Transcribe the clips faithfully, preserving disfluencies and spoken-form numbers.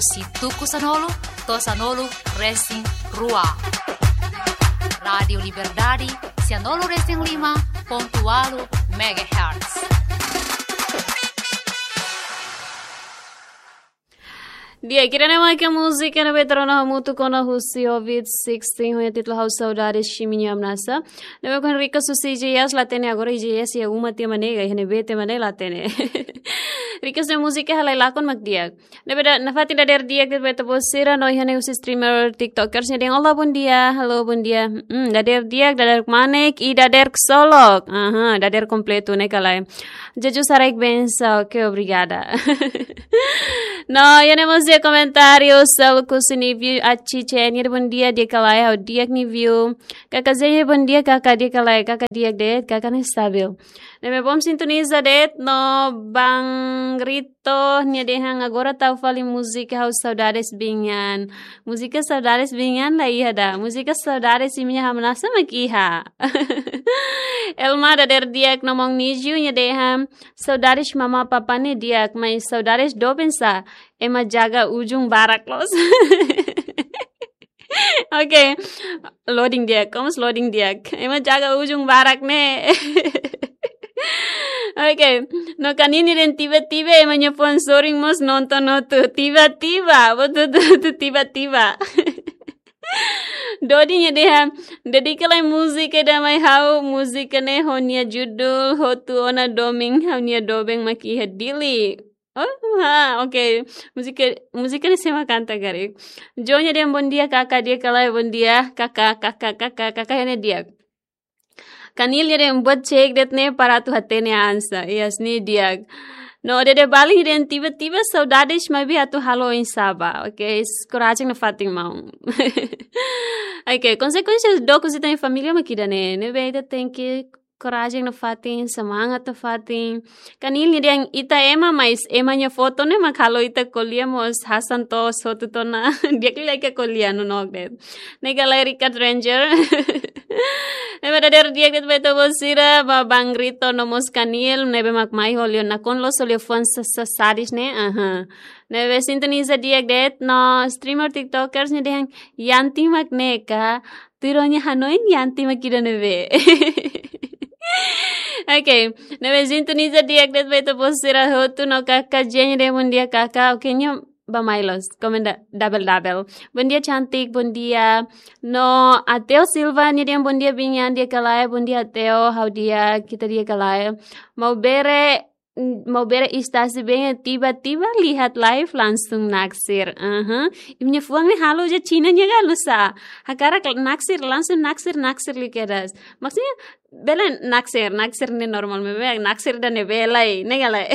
Husi tuku sanulu to'o sanulu resin rua. Rádiu Liberdade, sanulu resin lima pontu ualu megahertz. Di'ak, ida-ne'e mak múzika ne'ebé rona hamutuk ona husi Ovid sixteen, ho nia títulu Ha'u Saudades Imi-nia Hamnasa. Ne'ebé ho request husi J S, la hatene agora J S iha uma tiha mak ne'e, iha ne'ebé tiha mak ne'e, la hatene. Request nia múzika halai lakon mak di'ak. Ne'ebé ida nafatin dadeer di'ak de'it ba ita-boot sira, no iha ne'e husi streamer TikTokers nia dehan: "Olá, bom dia. Hello, bom dia." Hmm, dadeer di'ak, dadeer kmanek, i dadeer ksolok. Aha, dadeer kompletu ne'e ka lae? Jesus haraik bensaun, oke, obrigada. No, iha ne'e mós iha komentáriu, sel ku sini view, achi chen, ida bom dia, di'ak ka lae, ha'u di'ak nia view. Kaka Zenye, bom dia, kaka di'ak ka lae, kaka di'ak de'it, kaka ne'e stabil. Ne'ebé bom sintoniza de'it, no Bang Rito nia dehan agora tau fali múzika Ha'u Saudades Biin An. Múzika Saudades Biin An la iha ida. Múzika Saudades Imi-nia Hamnasa mak iha. Elma dadeer di'ak no Mong Niju nia dehan saudades mamá papá ne'e di'ak, mas saudades doben sá, ema jaga ujung barak loos. Oke, loading di'ak, komos loading di'ak. Ema jaga ujung barak ne'e. Oke, no Kanil nia dehan tiba-tiba ema nia fó sorin mós nonton hotu. Tiba-tiba, betul-betul tiba-tiba. Dodi nia dehan, dedika lai múzika ida mai ha'u, múzika ne'e ho nia judul Hotu Ona Domin, ha'u-nia doben mak iha Dili. Oh, ha, oke. Múzika, múzika ne'e sé mak kanta karik? Jo nia dehan bom dia kaka, di'ak ka lae, bom dia kaka, kaka, kaka, kaka, ne'e di'ak. Kanil nia dehan buat cek de'it ne'e para atu hatene hanesan. Yes, ne'e di'ak. No Dede Bali nia dehan tiba-tiba saudades maibé atu halo oinsá ba. Oke, s-, korajen nafatin maun. Oke, konsekuénsia dook husi ita-nia família mak ida-ne'e. Ne'ebé ita tenke korajen nafatin, semangat nafatin. Kanil nia dehan ita ema, mas ema nia foto ne'e mak halo ita ko'alia mós hanesan to'os hotu tiha ona. Di'ak liu lai ka ko'alia, nonook de'it. Ne'e ka lae, Richard Ranger? Ne'ebé dadeer di'ak de'it ba ita-boot sira, ba Bang Rito no mós Kanil, ne'ebé mak mai ho liafuan nakonu loos, ho liafuan sa-, sa-, sadis ne'e, aha. Ne'ebé sintoniza di'ak de'it, no streamer TikTokers nia dehan Yanti mak ne'e ka, tuir ó-nia hanoin Yanti mak ida ne'ebé. Oke, ne'ebé sintoniza di'ak de'it ba ita-boot sira hotu, no kaka Jen nia dehan bom dia kaka, oke, nia bá mai loos, komenta double double. Bom dia cantik, bom dia. No Ateo Silva nia dehan bom dia Biin An, di'ak ka lae, bom dia Ateo, ha'u di'ak, ita di'ak ka lae. Maubere, Maubere Istácio Benha, tiba-tiba lihat live langsung naksir. Aha. Imi-nia fuan ne'e halo ja Xina nia galu sá. Hakarak naksir, langsung naksir, naksir liu kedas. Maksudnya, bele naksir, naksir ne'e normál, maibé naksir ida ne'e bele, ne'e ka lae?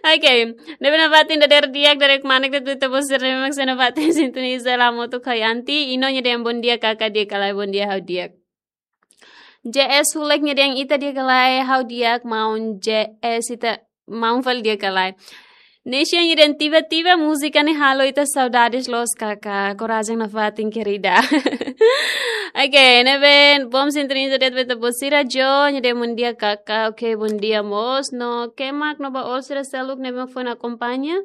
Oke, ne'ebé nafatin dadeer di'ak, dadeer kmanek de'it ba ita-boot sira, ne'ebé mak sei nafatin sintoniza la moto ka Yanti, Ino nia dehan bom dia kaka, di'ak ka lae, bom dia, ha'u di'ak. J S Hulek nia dehan ita di'ak ka lae, ha'u di'ak, maun J S, ita maun fali di'ak ka lae. Nesia nia dehan tiba-tiba múzika ne'e halo ita saudades loos kaka, korajen nafatin querida. Oke, ne'ebé bom sintoniza de'it ba ita-boot sira, Jo nia dehan bom dia kaka, oke, bom dia mós, no Kemak no ba ó sira seluk ne'ebé foin akompaña.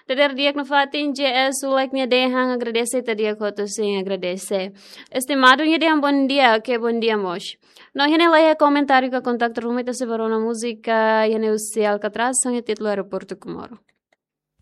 Dadeer di'ak nafatin, J S Hulek nia dehan agradese, ita di'ak hotu, sin, agradese. Estimadu nia dehan bom dia, oke, bom dia mós. No iha ne'e laiha komentáriu ka kontaktu ruma, ita sei bá rona múzika iha ne'e husi Alcatraz, ho nia títulu Aeroportu Comoro.